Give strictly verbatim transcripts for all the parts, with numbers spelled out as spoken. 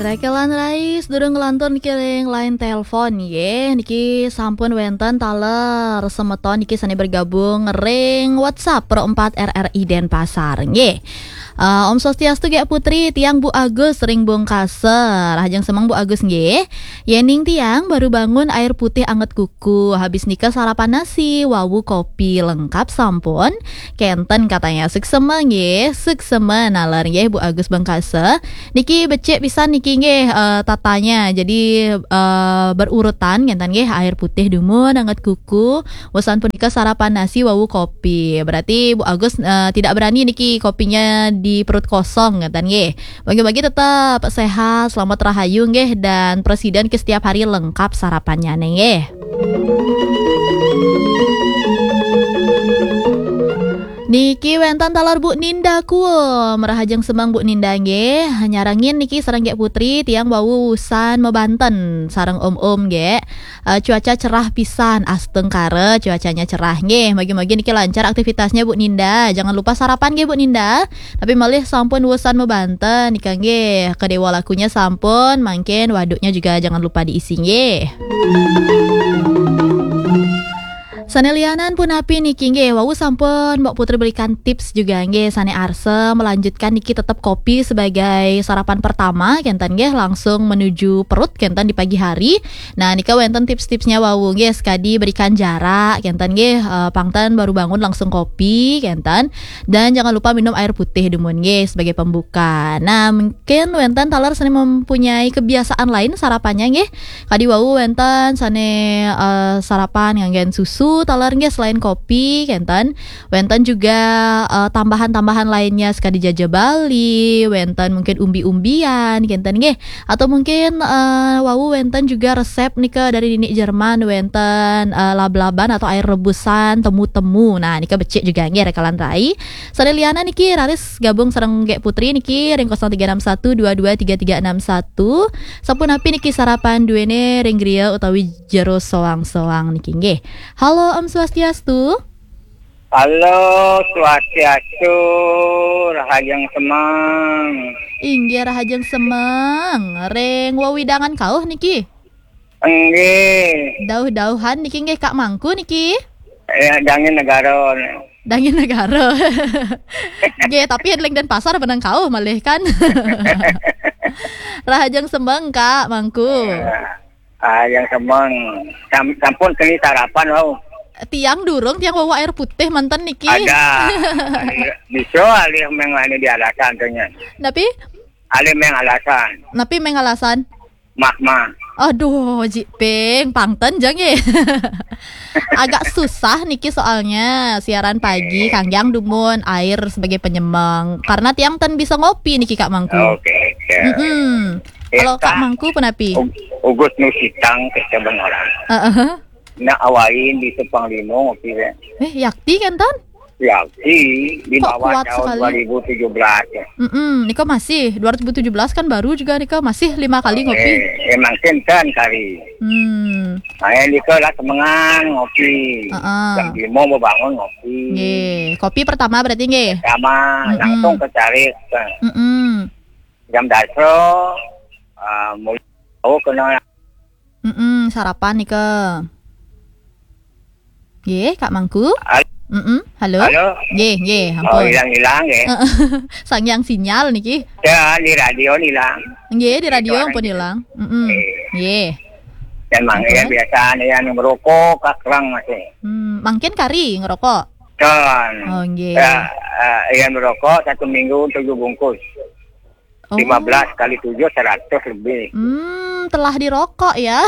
Rekelan rais durung ngelantur niki ring line telepon, nggih. Niki sampun wenten taler semeton niki sane bergabung ring WhatsApp Pro empat R R I Denpasar, nggih. Eh, Om Swastiastu, Gek Putri, tiang Bu Agus ring Bungkasa. Rahajeng semeng, Bu Agus, nggih. Yening tiang baru bangun, air putih anget kuku. Habis nika sarapan nasi, wau kopi, lengkap sampun. Kenten katanya. Suksema nggih, suksema naler nggih, Bu Agus Bungkasa. Niki becik pisan niki nggih, eh, tatanya. Jadi, eh, berurutan kenten nggih, air putih dumun, anget kuku. Wusan punika sarapan nasi, wau kopi. Berarti Bu Agus, eh, tidak berani niki kopinya di perut kosong kenten nggih. Bagi-bagi tetap sehat, selamat rahayu nggih, dan presiden ke setiap hari lengkap sarapannya nggih. Niki wenten taler Bu Ninda Kuem, rahajeng semeng Bu Ninda nggih. Nyarengin niki sareng Gek Putri, tiang wau wusan mebanten sareng om-om nggih. Eh, cuaca cerah pisan, astengkara cuacanya cerah nggih. Mogi-mogi niki lancar aktivitasnya Bu Ninda. Jangan lupa sarapan nggih Bu Ninda. Tapi malih sampun wusan mebanten nika nggih. Kedewa lakunya sampun, mangkin waduknya juga jangan lupa diisi nggih. Sane lianan punapi niki nggih, wau sampun Mbok Putri berikan tips juga nggih, sane arsa melanjutkan niki tetep kopi sebagai sarapan pertama kenten nggih, langsung menuju perut kenten di pagi hari. Nah, nika wenten tips-tipsnya wau nggih, sekadi berikan jarak kenten nggih, eh, pangten baru bangun langsung kopi kenten, dan jangan lupa minum air putih dumun nggih sebagai pembuka. Nah, mungkin wenten taler sane mempunyai kebiasaan lain sarapannya nggih. Kadi wau wenten sane, eh, sarapan nganggen susu taler nggih selain kopi kenten. Wenten juga, eh, tambahan-tambahan lainnya sekadi jaja Bali, wenten mungkin umbi-umbian kenten nggih. Atau mungkin, eh, wau wenten juga resep nika dari nini Jerman, wenten, eh, lab-laban atau air rebusan temu-temu. Nah, nika becik juga nggih rekelan rai. Sane lianan niki raris gabung sareng Gek Putri niki ring kosong tiga enam satu dua dua tiga tiga enam satu. Sapunapi niki sarapan duene ring griya utawi jero soang-soang niki nggih. Halo, Om Swastiastu. Halo, Swastiastu, rahajeng semeng. Inggih, rahajeng semeng. Ring wewidangan kauh niki? Inggih. Dauh-dauhan niki nggih, Kak Mangku niki? Ya, Dangin Negara. Dangin Negara. Nggih, tapi ring Denpasar benang kauh malih kan. Rahajeng semeng, Kak Mangku. Ya. Ah, yang semeng. Sam-, sampun keni sarapan, wau. Tiang durung, tiang wau air putih manten niki. Ada. Bisa alih meng anu di alasan tuh nya. Napi? Alih meng alasan. Napi meng alasan? Magma. Aduh, jiping, pangten jang ye. Agak susah niki soalnya siaran pagi, eh, kanggiang dumun air sebagai penyemeng. Karena tiang ten bisa ngopi niki, Kak Mangku. Oke, oke. Mm-mm. Eh, Kalau Kak Kak, Mangku punapi? Ug-, Ugus Nusitang, kita orang. Heeh. Nak awain di Sepang Limo ngopi, ya. Eh, yakti kan, Ton? Yakti di Kok bawah kuat tahun sekali? Dua ribu tujuh belas, ya. Mm-mm, nika masih dua ribu tujuh belas kan baru juga nika masih lima kali ngopi. Eh, emang kenten kali. Hmm. Saya nika lah semengan ngopi. Heeh. Jam lima mau bangun ngopi. Nggih, kopi pertama berarti nggih? Pertama, mm-mm, langsung ke cari. Mm-mm. Jam dasa, ah, mulai tahu kena. Mm-mm, sarapan nika. Nggih, Kak Mangku. Hal-, Mm-mm, halo? Halo? Nggih, nggih, oh, ampun. Hilang-hilang, nggih. Sangyang sinyal niki. Ya, di radio hilang. Nggih, di radio suaranya ampun hilang. Mm-mm. Eh. Nggih. Dan mang-, ya, ampun. Biasa anu yang merokok, kakrang masih. Hmm, mangkin kari ngerokok? Kan. Oh, nggih. Ya, eh, yang merokok satu minggu tujuh bungkus. Oh. Lima belas kali tujuh, seratus lebih. Hmm, telah dirokok ya.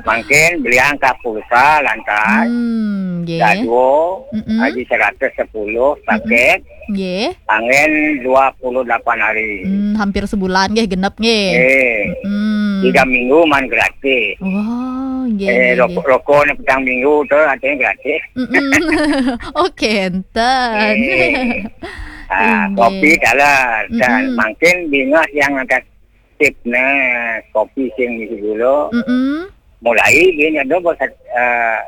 Mangkin belian ka pulsa lantas. Hmm, nggih. Dadua, mm-mm, haji seratus sepuluh, mm-mm, paket. Nggih. Angin dua puluh delapan hari. Hmm, hampir sebulan nggih, genep nggih. Eh, mm-mm, tiga minggu man gratis. Wah, nggih, eh, nggih, rokok, nggih. Rokok ni petang minggu tu artinya gratis. Mm-mm. Oke, enten. Eh. Ah, inggih. Kopi taler, dan, mm-mm, mangkin bingah yang atas tip ne, kopi sing misi gula. Mm-mm. Mulai dia nyeduh bos, eh,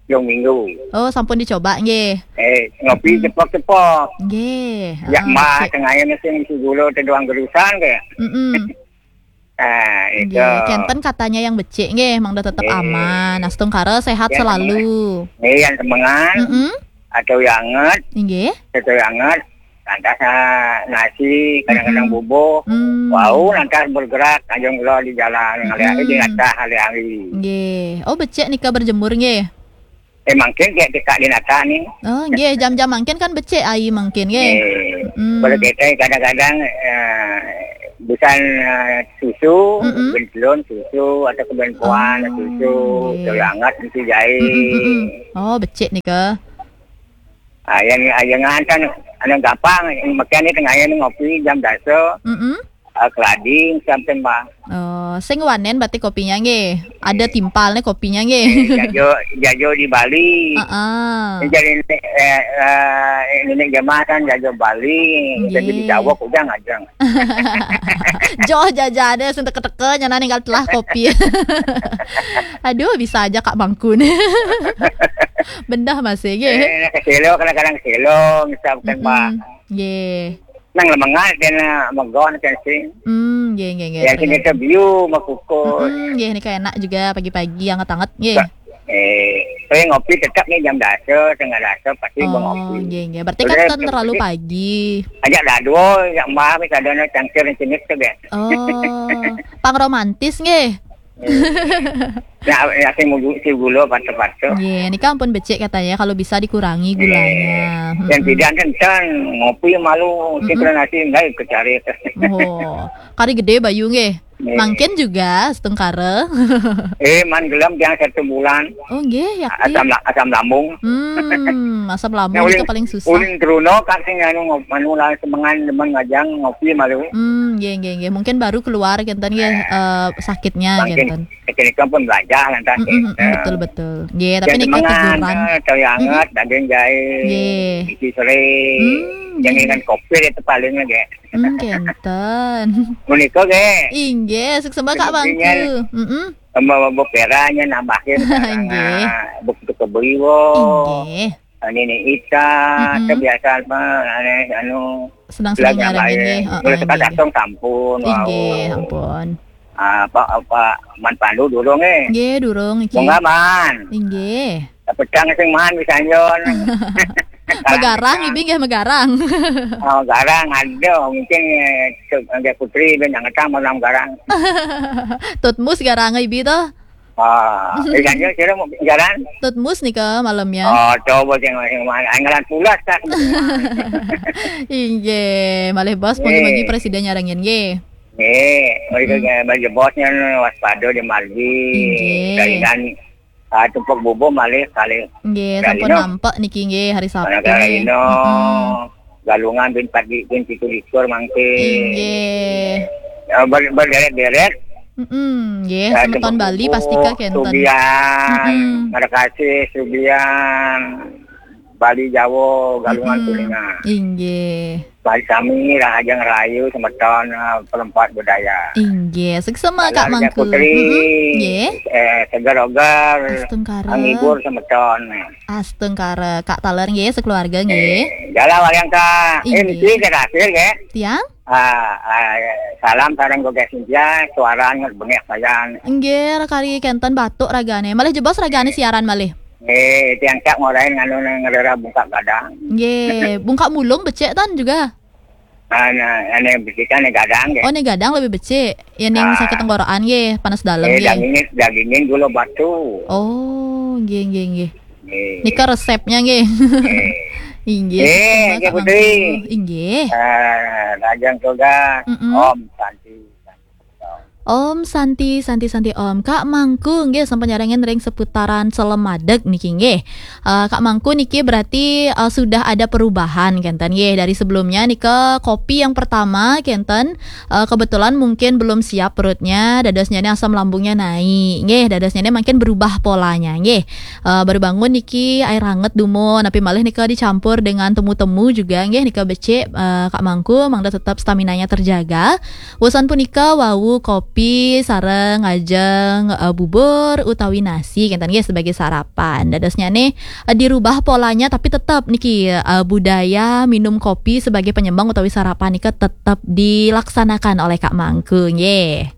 yang minggu. Oh, sampun dicoba nggih. Eh, ngopi, mm-mm, cepok-cepok. Nggih. Ya, ah, mah, cek. Tengahnya sing misi gula teduang gerusan ke. Mm-mm. Nggih, kenten katanya yang becik nggih, mangda tetep aman. Astungkara sehat selalu. Nggih, yang semengan. Mm-mm. Atau yang anget, Nggih. Atau yang anget. Lantas ah, nasi, kadang-kadang Mm-mm. bubuh. Mm. Wau lantas bergerak, ajeng kula di jalan, ngalih di Mm-mm. atas hari-hari. Nggih. Oh, becik nika berjemur nggih. Eh, mangkin kayak tekak di nata nih. Oh, nggih, jam-jam mangkin kan becik ai mangkin nggih. Eh, Mm. Kalau kita kadang-kadang eh, busan eh, susu, Mm-mm. Bentelon susu atau kebenpuan Oh, susu, nggih. Atau yang anget mesti jahit. Mm-mm, mm-mm. Oh, becik nika. Ah, yang yang ngantan anu gampang, makan ni tengah hari ngopi jam dasa. Mm-mm. Ah, keladi sampai mah. Oh, sing wanen berarti kopinya nggih. Ada timpal nih kopinya nggih. Eh, jajo jajo di Bali. Heeh. Jadi eh, eh, ini jamaah kan jajo Bali, jadi Nggih. Di Jawa kujang aja. Joh jajane sing teka-teka nyana ninggal telah kopi. Aduh, bisa aja Kak Mangkun. Bendah masih nggih. Eh, nak keselo, kadang-kadang keselo, misal bukan Mm-mm. Pak. Nggih. Nang lemengan kena megon kan sih. Hmm, nggih nggih nggih. Ya sini Ternyata. Ke view makuko. Mm-mm, nggih nika enak juga pagi-pagi anget-anget nggih. Sa- Eh, saya ngopi tetap nih jam dasa, setengah dasa pasti Oh, ngopi. Nggih nggih. Berarti kan Terus ten terlalu pagi. Ajak dado, ajak mbah wis ada no cangkir jenis tu kan. Oh, pang romantis nggih. Ya, ya sing mugu si gula patu-patu. Nggih, nika ampun becik katanya kalau bisa dikurangi Eh, gulanya. Yang Mm-mm. Tidak kenten, ngopi malu, Mm-mm. Sinkronasi enggak ikut cari. Oh, kari gede bayu nggih. Nggih. Mangkin juga setungkara. Eh, man gelem yang satu bulan. Oh, nggih, yakin. Asam la- asam lambung. Hmm, asam lambung Nah, itu ulin- paling susah. Ulin Truno kan sing anu ngop- anu lah semengan demen ngajang ngopi malu. Hmm, nggih nggih nggih. Mungkin baru keluar kenten nggih eh, sakitnya Mungkin kenten. Ketika pun belajar lantas. Mm-mm, mm-mm, betul betul. Nggih, tapi Yang nika semengan, teguran. Eh, tahu yang Mm-mm. Anget, daging jahe, Nggih. Isi sore. Hmm, Yang nggih. Dengan kopi itu paling lagi. Hmm, kenten. Menika nggih. Inggih, suksema Kak Mangku. Heeh. Tambah bok peranya nambahin. Inggih. Bok itu kebeli wo. Inggih. Ini nih Ita, Mm-mm. Kebiasaan mah aneh anu. Sedang-sedang nyarengin nggih. Heeh, mulai tekan nggih. Datang sampun. Inggih, ampun. Apa apa Man Pandu durung eh. Nggih, durung iki. Mongga Man. Inggih. Pedang sing man wis anjon. Megarang ibi nggih megarang. Oh, garang ada mungkin eh, nggih putri ben ngetang malam garang. Tutmus garang ibi to? Ah, wis anjon sira mau garang. Tutmus nika malamnya. Oh, coba sing sing man. Anggalan pulas kan. Inggih, malih bos mugi-mugi presiden nyarengin nggih. Nggih, mereka bos bosnya waspada di margi. Inggih. Kalian Ah, tumpuk bubuh malih kali. Nggih, sampun nampak niki nggih hari Sabtu. Anak nggih. Ino, mm-mm. Galungan bin pagi bin pitu likur mangke. Inggih. Ya, ber- berderet-deret. Mm-mm, nggih, ya, semeton Bali pastika kenten. Sugian, mm-mm. Terima kasih Sugian, Bali Jawa, Galungan mm-mm. Kuningan. Inggih. Bali sami rahajeng rahayu semeton eh, perempat budaya. Inggih, suksema Kak Mangku. Putri, mm-mm. Nggih. Eh, segar-ogar, astungkara. Menghibur semeton. Astungkara Kak Taler nggih, sekeluarga nggih. Eh, jalan wayang Kak. Eh, inggih. Mesti saya hasil nggih. Tiang? Ah, ah, salam sareng Gogas Sintia, suara nget bengek sayan. Nggih, kari kenten batuk ragane. Malih jebos ragane siaran malih. Eh, tiang cak ngorain nganu ngerera bungkak gadang. Nggih, bungkak mulung becik tan juga. Ana ane becik ane gadang nggih. Oh, ne gadang lebih becik. Ya ning sakit tenggorokan nggih, panas dalam eh, nggih. Dagingin dagingin gula batu. Oh, nggih nggih nggih. Nggih. Nika resepnya nggih. Nggih. Inggih. Eh, nggih Putri. Inggih. Eh, Rajang Toga, mm-mm. Om Santi. Om Santi, Santi, Santi Om. Kak Mangku nggih sampun nyarengin ring seputaran Selem Madeg niki nggih. Uh, Kak Mangku niki berarti uh, sudah ada perubahan kenten nggih dari sebelumnya nika kopi yang pertama kenten uh, kebetulan mungkin belum siap perutnya dadosnya ini asam lambungnya naik nggih dadosnya ini makin berubah polanya nggih. Uh, baru bangun niki air hangat dumun tapi malih nika dicampur dengan temu-temu juga nggih nika becik uh, Kak Mangku mangda tetap staminanya terjaga. Wusan punika wau kopi sareng ngajeng uh, bubur utawi nasi kenten nggih sebagai sarapan. Dadosnya nih uh, dirubah polanya tapi tetap niki uh, budaya minum kopi sebagai penyembang utawi sarapan nika tetap dilaksanakan oleh Kak Mangku nggih.